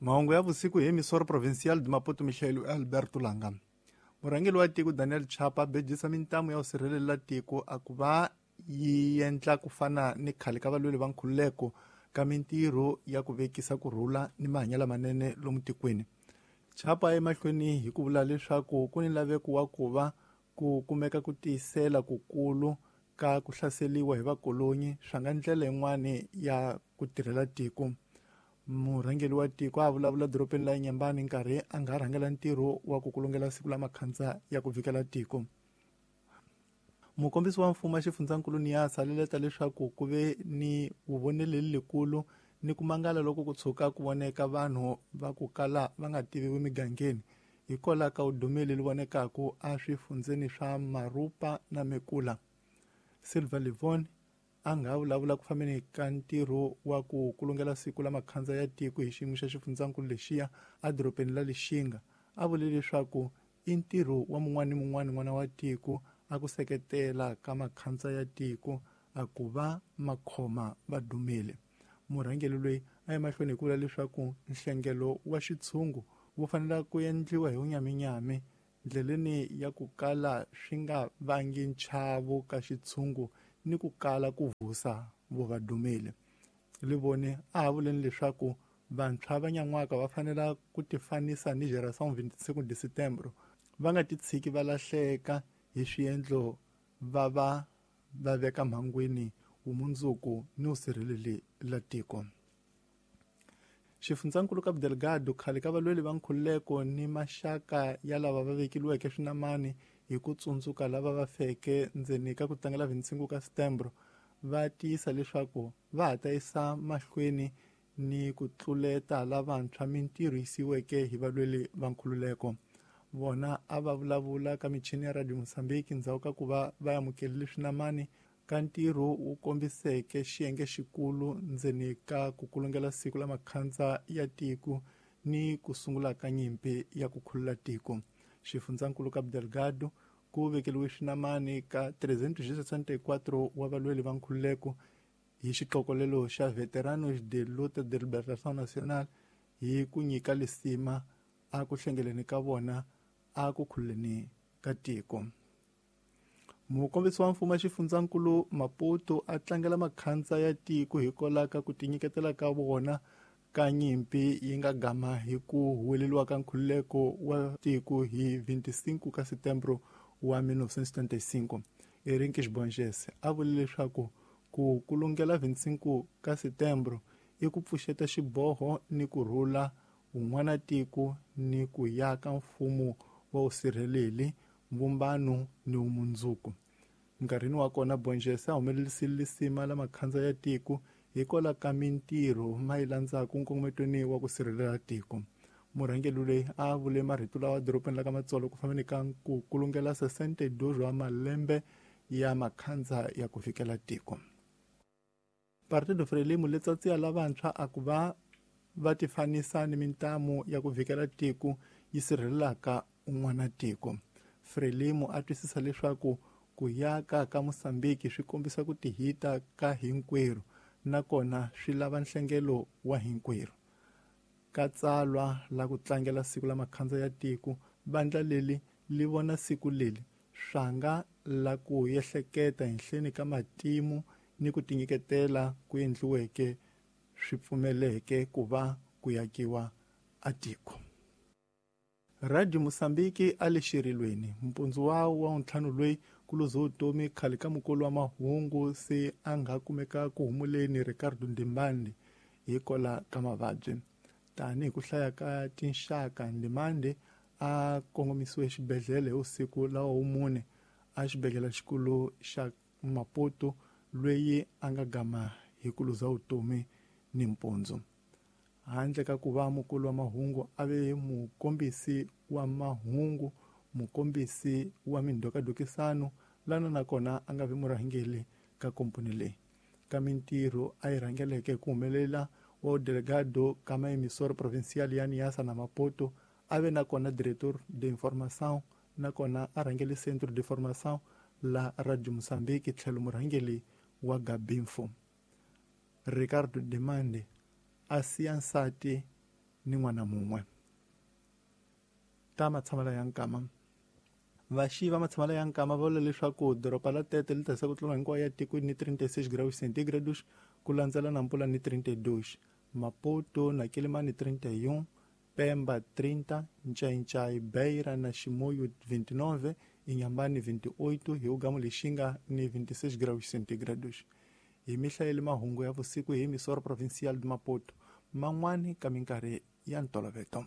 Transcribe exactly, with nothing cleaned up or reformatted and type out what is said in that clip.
Mahungu ya vusiku hi Emissora Provincial de Maputo Michel Alberto Langa. Murhangeri wa tiko Daniel Chapa bejisa mintamu ya ku sirhelela tiko a ku va yi endla ku fana ni khale ka valweri va nkhululeko ka mintirho ya ku vekisa ku rhula ni mahanyelo lamanene lomu tikweni. Chapa emahlweni hi ku vula leswaku ku ni laveko wa ku va ku kumeka ku tiyisela kukulu ka ku hlaseriwa hi vakolonyi swa nga ndlela yin'wani ya ku tirhela tiko. Murhangeri wa tiko a vulavula dorobeni la Nyambani nkarhi a nga rhangela ntirho wa ku kulungela siku la makhandza ya ku vikela tiko. Mukombisi wa mfumo wa xifundzankulu Niasa leleta leswaku ku ve ni vuvoneleli lekulu ni ku mangala loko ku tshuka ku voneka vanhu va ku kala va nga tiviwi migangeni hikwalaho ka udumeli leri vonekaku eswifundzeni swa Marupa na Mekula. Silva Livon a nga vulavula ku fambeni ka ntirho wa ku kulungela siku la makhandza ya tiko hi xiyimo xa xifundzankulu lexiya edorobeni la Lixinga a vule leswaku i ntirho wa mun'wana ni mun'wana n'wana wa tiko a ku seketela ka makhandza ya tiko a ku va makhoma va dumile. Murhangeri loyi a ya mahlweni hi ku vula leswaku nhlengelo wa xitshungu wu fanele ku endliwa hi vunyaminyami ndleleni ya ku kala swi nga vangi nchavo ka xitshungu ni ku kala ku vusa vo va dumile. Livone a ha vuleni leswaku vantshwa va nyan'waka va fanela ku tifanisa ni Geração vinte e cinco de Setembro va nga titshiki va lahleka hi swiendlo va va va veka mhangwini vumundzuku ni vusirheleli la tiko. Xifundzankulu Cabo Delgado khale ka valweri va nkhululeko ni maxaka ya lava va vekiliweke swinamani hi ku tsundzuka lava va feke ndzeni ka ku tlangela vinte e cinco ka Setembro va tiyisa leswaku va ha ta yisa mahlweni ni ku tluleta lavantshwa mintirho yisiweke hi valweri va nkhululeko. Vona a va vulavula ka michini ya Radio Mozambique ndzhaku ka ku va va amukerile swinamani ka ntirho wu kombiseke xiyenge xikulu ndzeni ka ku kulungela siku la makhandza ya tiko ni ku sungula ka nyimpi ya ku khulula tiko. Xifundzankulu Cabo Delgado ku vekeliwe swinamani ka trezentos e sessenta e quatro wa valweri va nkhululeko hi xixokolelo xa Veteranos de Luta de Libertação Nacional hi ku nyika lisima a ku hlengeleni ka vona a ku khululeni ka tiko. Mukombisi wa mfumo wa xifundzankulu Maputo a tlangela makhandza ya tiko hikwalaho ka ku tinyiketela ka vona ka nyimpi yi nga gama hi ku huweleriwa ka nkhululeko wa tiko hi vinte e cinco ka Setembro wa mil novecentos e setenta e cinco. Erinkes Bonges a vule leswaku ku kulungela vinte e cinco ka Setembro i ku pfuxeta xiboho ni ku rhula un'wana tiko ni ku yaka mfumo wa vusirheleli mvumbano ni vumundzuku. Nkarhini wa kona Bonges a humelerisile lisima la makhandza ya tiko hikwalaho ka mintirho ma yi landzaka nkongometweni wa ku sirhelela tiko. Murhangeri loyi a vule marito lawa dorobeni la ka Matsolo ku fambeni ka ku kulungela sessenta e dois wa malembe ya makhandza ya ku fikela tiko. Partido Frelimo letsatsi ya lavantshwa a ku va va tifanisa ni mintamu ya ku vikela tiko yi sirhelelaka un'wana tiko. Frelimo a twisisa leswaku ku yaka ka Mozambique swi kombisa ku tihita ka hinkwerhu nakona swi lava nhlengelo wa hinkwerhu. Ka tsalwa la ku tlangela siku la makhandza ya tiko vandla leri li vona siku leri swanga la ku ehleketa henhleni ka matimu ni ku tinyiketela ku endliweke swi pfumeleke ku va ku yakiwa a tiko. Radio Mozambique a le xirilweni mpundzu wa wa ntlhanu loyi ku luze vutomi khale ka mukulu wa mahungu se a nga kumeka ku humuleni Ricardo Ndimbande hikwalaho ka mavabyi. Tanihi ku hlaya ka tinxaka Ndimande a kongomisiwe xibedhlele hi vusiku lawa wumune a xibedhlele xikulu xa Maputo loyi a nga gama hi ku luza vutomi ni mpundzu. Handle ka ku va mukulu wa mahungu a ve mukombisi wa mahungu mukombisi wa mindhokadokisano lana nakona a nga vi murhangeri ka komponi leyi. Ka mintirho a yi rhangeleke ku humelela wa delegado ka emissora provincial ya Niassa na Maputo a ve nakona director de informação nakona a rhangele centro de formação la Radio Mozambique tlhelo murhangeri wa Gabinfo. Ricardo Demande a siya nsati ni n'wana mun'we. Ta matshamelo ya nkama. Vaxi va matshamelo ya nkama va vula leswaku doroba la Tete li ta ku tlula hinkwayo ya tikweni ni trinta e seis graus centígrados, ku landzela Nampula ni trinta e dois, Maputo na Quelimane trinta e um, Pemba trinta, Ncaincaí, Beira na Chimoio vinte e nove, Inhambane vinte e oito, Rio Lixinga ni vinte e seis graus centígrados. Hi mihlayeli mahungu ya vusiku hi emissora provincial de Maputo, man'wani ka minkarhi ya ntolovelo.